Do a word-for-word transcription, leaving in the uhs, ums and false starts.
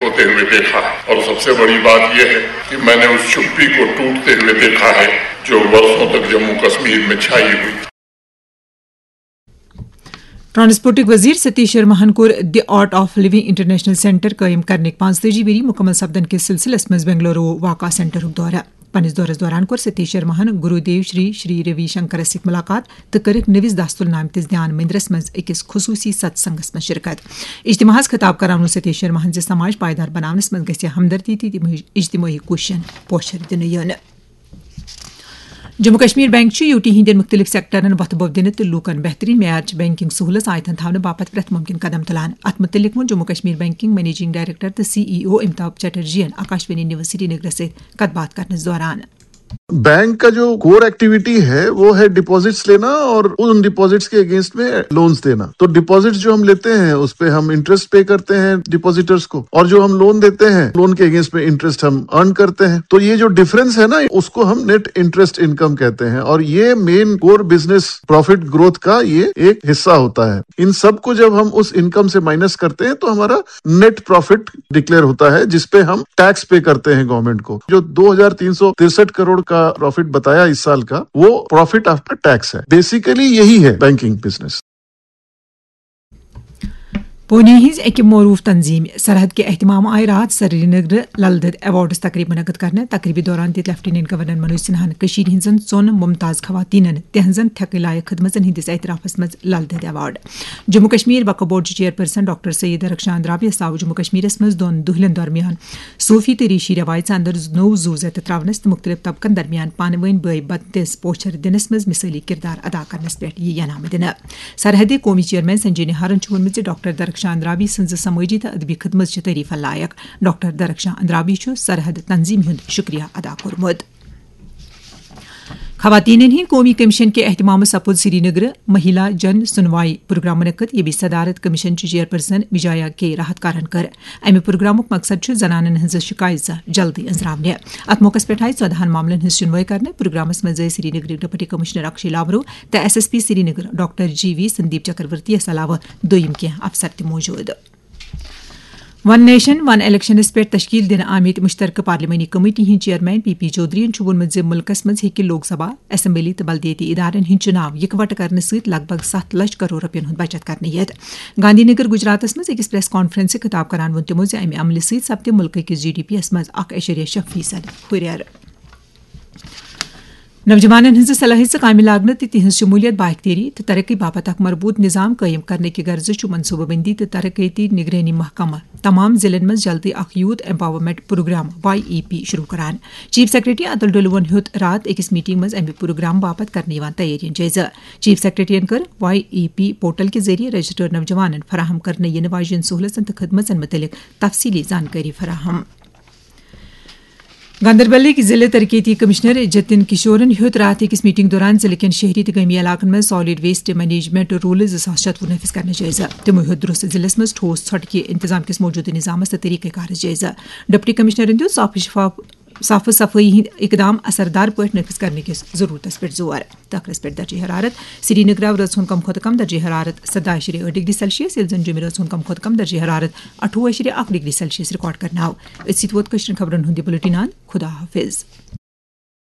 होते हुए देखा है। और सबसे बड़ी बात यह है कि मैंने उस चुप्पी को टूटते हुए देखा है, जो वर्षों तक जम्मू कश्मीर में छाई हुई। ٹرانسپورٹٕکۍ وزیر ستیش شرماہن کوٚر the art of living international centre قٲیِم کرنٕکۍ پانٛژتٲجی ؤری مُکمل سپدن کِس سلسلس منٛز بنگلورو واقع سینٹرُک دورٕ۔ پننِس دورس دوران کوٚر ستیش شرماہن گرو دیو شری شری روی شنکرس سۭتۍ ملاقات تہٕ کٔرٕکھ نٔوِس داستُل نامتِس دھیان مندرس منٛز أکِس خصوٗصی ستسنگس منٛز شرکت۔ اجتماعس خطاب کران ووٚن ستیش شرماہن زِ سماج پائیدار بناونس منٛز گژھِ ہمدردی تہٕ اجتماعی کوٗششن پوچھر دِنہٕ یُن۔ جموں کشمیر بینک چھُ یوٗ ٹی ہٕنٛدٮ۪ن مُختٔلِف سیکٹرن وۄتھٕ بوٚو دِنہٕ تہٕ لوٗکن بہتریٖن معیارٕچ بینکنگ سہوٗلژ آیتن تھاونہٕ باپتھ پرٛٮ۪تھ مُمکِن قدم تُلان۔ اَتھ مُتعلِق ووٚن Jammu Kashmir banking managing director تہٕ سی ای او امیتابھ چٹرجیَن آکاشوانی نیوز سرینگرس سۭتۍ کتھ باتھ کرنس دوران۔ بینک کا جو کور ایکٹیویٹی ہے، وہ ہے ڈپازٹس لینا اور ان ڈپازٹس کے اگینسٹ میں لونز دینا۔ تو ڈپازٹس جو ہم لیتے ہیں، اس پہ ہم انٹرسٹ پے کرتے ہیں ڈپازیٹرز کو، اور جو ہم لون دیتے ہیں، لون کے اگینسٹ میں انٹرسٹ ہم ارن کرتے ہیں۔ تو یہ جو ڈفرنس ہے نا، اس کو ہم نیٹ انٹرسٹ انکم کہتے ہیں، اور یہ main core business profit growth کا یہ ایک حصہ ہوتا ہے۔ ان سب کو جب ہم اس انکم سے مائنس کرتے ہیں، تو ہمارا نیٹ پروفٹ ڈکلیئر ہوتا ہے، جس پہ ہم ٹیکس پے کرتے ہیں گورنمنٹ کو۔ جو دو ہزار تین سو ترسٹھ کروڑ کا پروفٹ بتایا اس سال کا، وہ پروفٹ آفٹر ٹیکس ہے۔ بیسیکلی یہی ہے بینکنگ بزنس۔ پونے ہٕنٛز أکہِ معروٗف تنظیٖم سرحد کہِ اہتمام آیہِ راتھ سرینگرٕ لل دٮ۪د ایوارڈز تقریٖب منعقد کرنہٕ۔ تقریٖبہِ دوران دِتۍ لیفٹیننٹ گورنر منوج سنہاہن کٔشیٖرِ ہٕنٛزن ژۄن ممتاز خواتیٖنن تِہنٛزن تھٮ۪کٕنۍ لایق خدمژن ہٕنٛدِس اعترافس منٛز Lal Ded award. Jammu Kashmir Waqf board chairperson doctor Syed Rakhshan راویس آو جموں کشمیرس منٛز دۄن دۄہلٮ۪ن درمیان صوفی تہٕ ریشی رٮ۪وایژٕ اندر نوٚو زُو زیٚتہٕ ترٛاونس تہٕ مُختٔلِف طبقن درمیان پانہٕ وٲنۍ بٲے بندس پوچھر دِنس منٛز مثٲلی کردار ادا کرنس پٮ۪ٹھ یہِ انعام دِنہٕ۔ سرحدی قومی چیئرمین سنجے نہارن چھُ ووٚنمُت زِ ڈاکٹر درخشان راوی سٕنٛز سمٲجی تہٕ ادبی خدمت چھِ تعریفن لایق۔ ڈاکٹر درخشان راوی چھُ سرحد تنظیمہِ ہُنٛد شُکریہ ادا کوٚرمُت۔ خواتینن ہٕنٛدۍ قومی کمیشن کہِ اہتمامہٕ سپُد سرینگرٕ مہیلا جن سنوائی پروگرام منعقد، ییٚمِچ صدارت کمیشن چہِ چیئرپرسن وجایا کے راہتکارن کٔر۔ امہِ پروگرامُک مقصد چھُ زنانن ہٕنٛزٕ شکایژٕ جلدی أنٛزراونہِ۔ اتھ موقعس پٮ۪ٹھ آیہِ ژۄدہن معاملن ہٕنٛز شُنوٲے کرنہٕ۔ پروگرامس منٛز ٲسۍ سرینگرٕکۍ ڈپٹی کمشنر اکشے لاورو تہٕ S S P Srinagar doctor G V Sandeep Chakravarthy علاوٕ دوٚیِم کینٛہہ افسر تہِ موجود۔ ون نیشن ون الیکشنس پٮ۪ٹھ تشکیل دِنہٕ آمٕتۍ مشترکہٕ پارلیمانی کمیٹی ہٕنٛدۍ چیئرمین پی پی چودھرین چھُ ووٚنمُت زِ مُلکس منٛز ہیٚکہِ لوک سبھا، اسمبلی تہٕ بلدیٲتی ادارن ہٕنٛدۍ چُناو یِکوٹہٕ کرنہٕ سۭتۍ لگ بگ ستھ لچھ کرور رۄپین ہُنٛد بچت کرنہٕ یِتھ۔ گاندھی نگر، گجراتس منٛز أکِس پریس کانفرنسہِ خطاب کران ووٚن تِمو زِ امہِ عملہٕ سۭتۍ سپدِ مُلکہٕ کِس جی ڈی پی یَس منٛز اکھ اعشاریہ شےٚ فیصد ہُرٮ۪ر۔ نوجوانن ہٕنٛزٕ صلٲحیژٕ کامہِ لاگنہٕ تہٕ تِہنٛز شمولیت بااختیٲری تہٕ ترقی باپتھ اکھ مربوط نظام قٲیِم کرنہٕ کہِ غرضہٕ چھُ منصوبہٕ بندی تہٕ ترقیتی نگرٲنی محکمہٕ تمام ضلعن منٛز جلدی اکھ یوتھ ایمپاورمنٹ پروگرام، واے ای پی، شروع کران۔ چیف سیکرٹری اتل ڈولوَن ہیوٚت راتھ أکِس میٹنگ منٛز امہِ پروگرام باپتھ کرنہٕ یِوان تیٲرین جٲیزٕ۔ چیف سیکرٹریَن کٔر واے ای پی پورٹل کہِ ذٔریعہٕ رجسٹرڈ نوجوانَن فراہم کرنہٕ یِنہٕ واجٮ۪ن سہوٗلژن تہٕ خدمژن مُتعلق تفصیٖلی زانکٲری فراہم۔ گاندربلٕکۍ ضلع ترقیتی کمشنر جتن کشورن ہیوٚت راتھ أکِس میٹنگ دوران ضلع کٮ۪ن شہری تہٕ گٲمی علاقن منٛز سالڈ ویسٹ مینجمنٹ رولز زٕ ساس شتوُہ نافذ کرنٕچ جٲیزٕ۔ تِمو ہیوٚت درست ضلعس منٛز ٹھوس ژھۄٹہٕ کہِ انتظام کِس موجودٕ نظامس تہٕ طریقہٕ کارس جٲیزٕ۔ ڈپٹی کمشنرن دیُت صاف شفاف صاف صفٲیی ہٕنٛدۍ اقدام اثردار پٲٹھۍ نافذ کرنہٕ کِس ضروٗرتس پٮ۪ٹھ زور۔ ٹکرس پٮ۪ٹھ درجہ حرارت۔ سرینگرٕ آو رٲژ ہُنٛد کم کھۄتہٕ کم درجہ حرارت سداہ اعشاریہ ٲٹھ ڈگری سیلسیس، ییٚلہِ زن جوٚمہِ رٲژ ہُنٛد کم کھۄتہٕ کم درجہ حرارت اَٹھووُہ اعشاریہ اکھ ڈگری سیلسیس ریکارڈ کرنہٕ آو۔ أتھۍ سۭتۍ ووت کٲشرٮ۪ن خبرن ہُنٛد یہِ بُلٹن اند۔ خدا حافظ۔